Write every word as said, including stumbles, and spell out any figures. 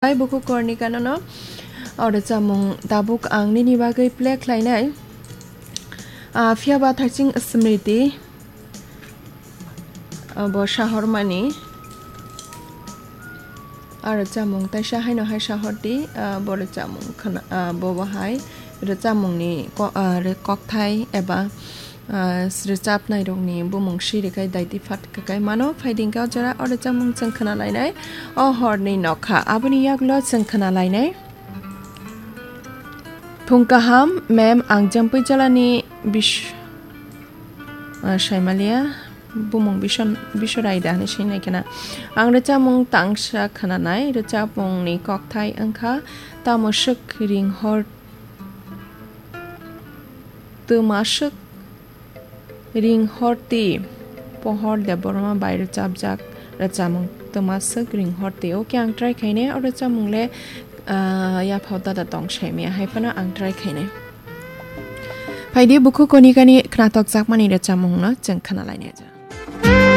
Hai bukhuk Kornika nono o rwchapmung tabuk ang nini bagwi play khlainai. Ah, phiya ba Thaising Smriti, ah, bo sahormani. Ah, rwchapmung taisa haino hai sahor di, ah, bo rwchapmung khna-, ah, bo bo hai rwchapmungni ko-, ah, re-, kokthai eba, ah, rwchapnairokni bumung siri khai daiti phat kakai mano. Phaidi hwnkhe o jora o rwchapmung chwng khna lainai. O horni nokha aboni yaklo chwng khna lainai. Phung kaham, mem, ang Jampui jalani bis-, ah, Saimalia, bumung Bison-, Bisorai da hinwi swi nai khna. Ang rwchapmung tangsa khna nai, rwchapmungni kokthai wngkha, tamo swk ring hor, twma swk ring horti, Pohor Debbarma bai rwchapjak rwchapmung twma swk ring horti. Okay, ang try khainai, o rwchapmung le, ah, yaphao dada tong saimaya, hai phano ang try khainai. Phaidi bukhuk Konikani khnatok jakmani rwchapmungno chwng khna lainai.